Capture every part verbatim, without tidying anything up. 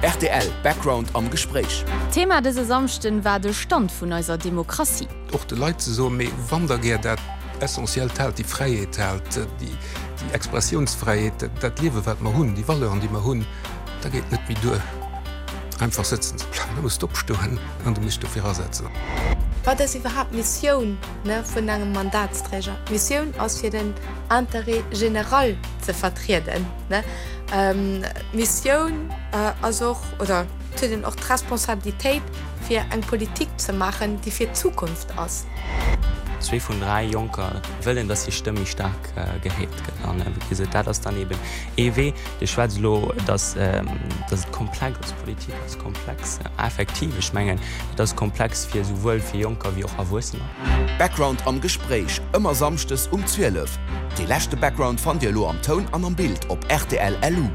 Rtl Background am Gespréich. Thema dëse Samschden war de Stand vun eiser Demokratie. Och de Leit ze soen, mee wann der gär dat Essentiellt haalt, déi Fräiheet haalt, déi Expressiounsfräiheet, dat Liewe wat mer hunn, déi Valeuren déi mer hunn, da geet net méi duer einfach sëtzen ze bleiwen, da muss de opstoen an du muss dech dofir asetzen. Wat ass iwwerhaapt d'Missioun vun engem Mandatsträger? D'Missioun ass fir den Intérêt général ze vertrieden. D'Missioun ass och, oder et huet een och d'Responsabilitéit fir eng Politik ze maachen, déi fir d'Zukunft ass. Zwee vun dräi Jonker wëllen, dass hir Stëmm méi staark gehéiert gëtt. An wéi gesot, dat ass dann eben ee Wee. Dir schwätzt elo, dass dass et komplex ass. Politik ass komplex, effektiv. Ech mengen, et ass komplex fir esouwuel fir Jonker wéi och Erwuessener. Background am Gespréich, ëmmer samschdes um zwielef. Dee leschte Background fannt Dir elo am Toun an am Bild op rtl LU.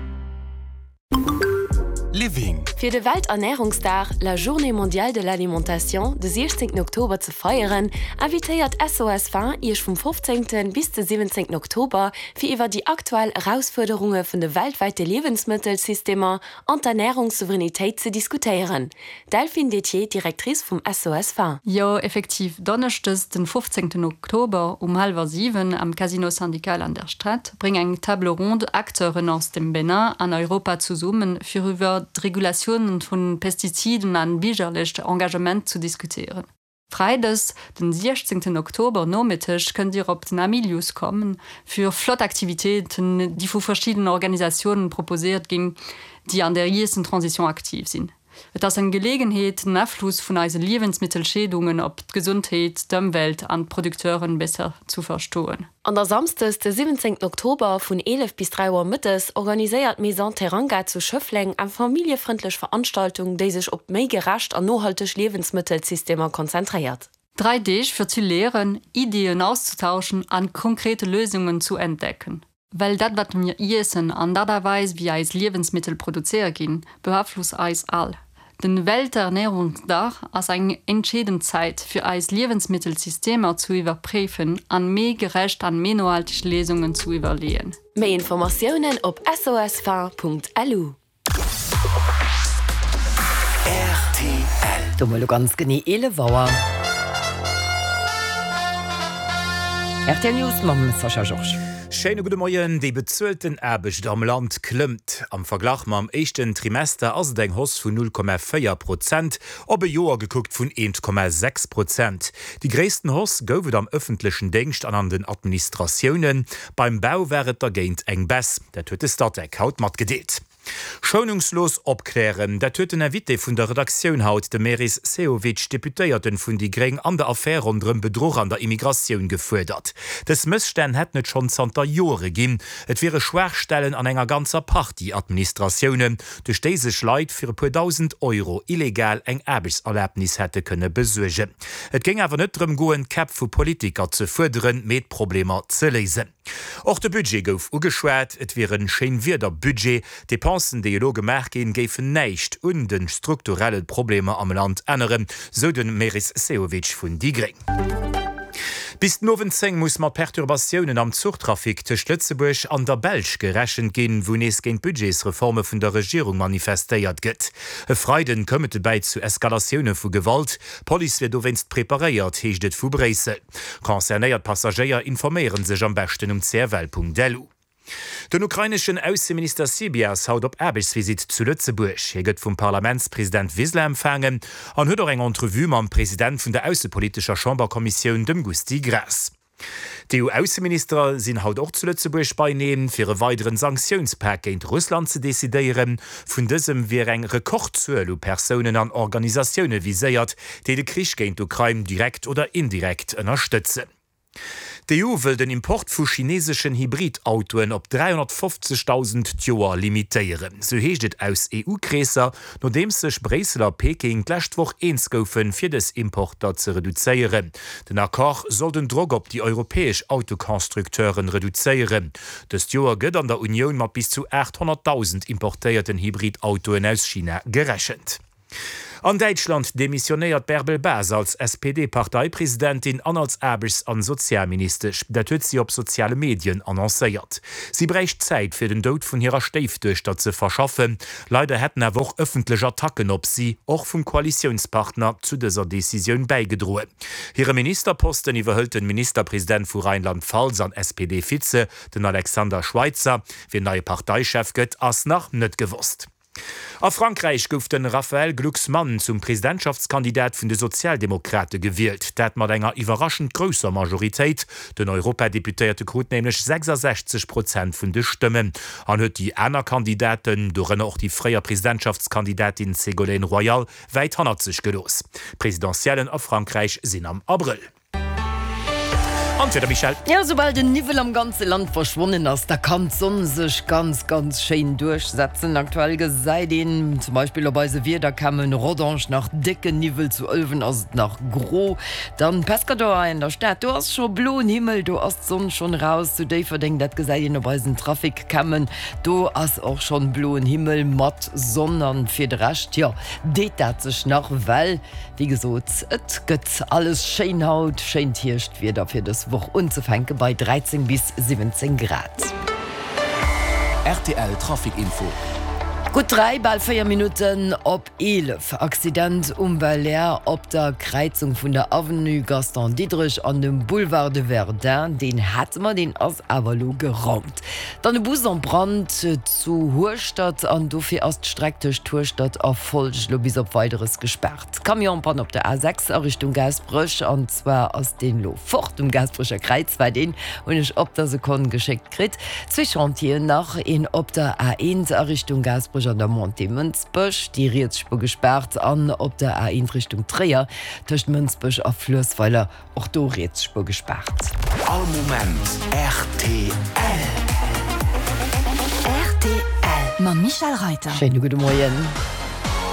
Living. Fir de Welternährungsdag, la Journée mondiale de l'alimentation, de siechzéngten Oktober ze feieren, invitéiert S O S Faim Iech vum fofzéngten bis de siwwenzéngten Oktober, fir iwwer déi aktuell Erausfuerderunge vun de weltwäite Liewensmëttelsystemer an d'Ernährungssouveränitéit ze diskutéieren. Delphine Dethier, Directrice vum S O S Faim. Jo, effektiv, donneschdes den fofzéngten Oktober um hallwer siwen am Casino Syndical an der Stad bréngt eng Table ronde Acteuren aus dem Benin an Europa zesummen, fir iwwer d'Regulatiounen vun Pestiziden an biergerlecht Engagement zu diskutéieren. Freides, den siechzéngten Oktober Nomëtteg kënnt Dir op den Hamilius kommen fir flott Aktivitéiten, déi vu verschiddenen Organisatiounen proposéiert ginn, déi an der Iessentransition aktiv sinn. Et ass eng Geleegenheet, den Afloss vun eise Liewensmëttelentscheedungen op d'Gesondheet, d'Ëmwelt an d'Producteuren besser zu verstoen. An da samsdes de siwwenzéngten Oktober vun eelef bis dräi Auer mëttes organiséiert d'Maison Teranga zu Schëffleng eng familljefrëndlech Veranstaltung, déi sech op méi gerecht an nohalteg Liewensmëttelsystemer konzentréiert. Dräi Deeg fir ze léieren, Iddien auszetauschen an konkrete Léisungen zu entdecken. Well dat wat mir iessen an d'Aart a Weis wéi eis Liewensmëttel produzéiert ginn, beaflosst eis all. Den Welternährungsdag ass eng entscheedend Zäit fir eis Liewensmëttelsystemer zu iwwerpréifen an méi gerecht an méi nohalteg Léisungen zu iwwerleeën. Méi Informatiounen op sosfaim.lu. Rtl. Do mol ganz genee eelef Auer. Rtl News mam Sascha Georges. Schéine gudde Moien. Déi bezuelten Aarbecht am Land klëmmt. Am Verglach mam éischten Trimester ass et eng Hausse vun null Komma véier Prozent, op e Joer gekuckt vun eent Komma sechs Prozent. Déi gréissten Hausse gouf et am ëffentlechen Déngscht an an den Administratiounen. Beim Bau war et dergéint eng Baisse. Dat huet de Statec haut matgedeelt. Schounungslos opklären, dat huet den Invité vun der Redaktioun haut, de Meris Sehovic, Deputéierten vun déi Gréng, an der Affär ronderëm Bedruch an der Immigratioun gefuerdert. Dës Mësstänn hätten et schonn zanter Jore ginn. Et wiere Schwaachstellen an enger ganzer Partie Administratiounen, duerch déi sech Leit fir e puer dausend Euro illegal eng Aarbechtserlabnis hätte kënne besuergen. Et géing awer net drëm goen, d'Käpp vu Politiker ze fuerderen, mee d'Problemer ze léisen. Och de Budget gouf ugeschwat, et wier e Schéinwiederbudget, d'Depensen, déi elo gemaach ginn, géifen näischt un de strukturelle Problemer am Land änneren, sou de Meris Sehovic vun déi Gréng. Bis den Owend zéng muss mat Perturbatiounen am Zuchtrafic tëscht Lëtzebuerg an der Belsch gerechent ginn, wou nees géint d'Budgetsreforme vun der Regierung manifestéiert gëtt. E Freiden koum et dobäi zu Eskalatioune vu Gewalt. D'Police wier dowéinst preparéiert, heescht et vu Bréissel. Concernéiert Passagéier informéiere sech am beschten um cfl.lu. Den ukraineschen Ausseminister Sybiha ass haut op Aarbechtsvisitt zu Lëtzebuerg. Hie gëtt vum Parlamentspresident Wiseler empfaangen an huet och eng Entrevue mam President vun der aussepolitescher Chamberkommissioun, dem Gusty Graas. D'E U-Ausseministere sinn haut och zu Lëtzebuerg beieneen, fir e weideren Sanktiounspak géint Russland ze decidéieren. Vun dësem wier eng Rekordzuel u Persounen an Organisatioune viséiert, déi de Krich géint d'Ukrain direkt oder indirekt ënnerstëtzen. D'E U wëll den Import vu chineeseschen Hybrid-Autoen op dräihonnertfofzegdausend d'Joer limitéieren. Sou heescht et aus E U-Kreesser, nodeems sech Bréissel a Peking d'lescht Woch eens goufen, fir dës Importer ze reduzéieren. Den Accord soll den Drock op déi europäesch Autoconstructeuren reduzéieren. Dëst Joer gëtt an der Unioun mat bis zu aathonnertdausend importéierten Hybrid-Autoen aus China gerechent. An Däitschland demissionéiert d'Bärbel Bas als S P D-Parteipresidentin an als Aarbechts an Sozialministesch. Dat huet si op soziale Medien annoncéiert. Si bräicht Zäit fir den Doud vun hirer Stéifduechter ze verschaffen. Leider hätten awer och ëffentlech Attacken op si, och vum Koalitiounspartner, zu dëser Decisioun bäigedroen. Hire Ministerposten iwwerhëlt den Ministerpresident vu Rheinland-Pfalz an S P D-Vize, den Alexander Schweitzer. Wien neie Parteichef gëtt, ass nach net gewosst. A Frankräich gouf de Raphaël Glucksmann zum Presidentschaftskandidat vun de Sozialdemokrate gewielt, dat mat enger iwwerraschend grousser Majoritéit. Den Europadeputéierte krut nämlech sechsasechzeg Prozent vun de Stëmmen an huet déi aner Kandidaten, dorënner och déi fréier Presidentschaftskandidatin Ségolène Royal, wäit hannert sech gelooss. D'Presidentiellen a Frankräich sinn am Abrëll. An d'Wieder, Michèle? Jo, soubal den Niwwel am ganze Land verschwonnen ass, da kann d'Sonn sech ganz, ganz schéin duerchsetzen. Aktuell gesäit een zum Beispill op eise Wiedercammen Rodange nach décken Niwwel, zu Ëlwen ass et nach gro. Dann Pescador hei an der Stad, do ass scho bloen Himmel, do ass d'Sonn schonn eraus. Zu Déifferdeng, dat gesäit een op eisen Traficcammen, do ass och schonn bloen Himmel mat Sonn. An fir de Rescht, jo, deet dat sech nach, well wéi gesot, et gëtt alles schéin haut, schéint Hierschtwieder fir dës Woch unzefänke bei dräizéng bis siwwenzéng Grad. Rtl Trafic Info. Gutt dräi, bal véier Minutten op eelef. Accident um Belair op der Kräizung vun der Avenue Gaston Diderich an dem Boulevard de Verdun. Deen hate mer, deen ass awer elo geraumt. Dann e Bus en Brand zu Hueschtert an dofir ass d'Streck tëscht Hueschtert a Folscht elo bis op Weideres gespaart. Camion-Panne op der A sechs a Richtung Gaasperech an zwar ass deen elo fort um Gaasperecher Kräiz, war deen hunn ech op der Sekonn geschéckt kritt. Zwee Chantieren nach, een op der A eent a Richtung Gaasperech an der Montée Mënsbech, déi riets Spuer gespaart an op der A eent Richtung Tréier tëscht Mënsbech a Fluessweiler och do riets Spuer gespaart. All Moment rtl. Rtl mam Michèle Reiter. Schéine gudde Moien.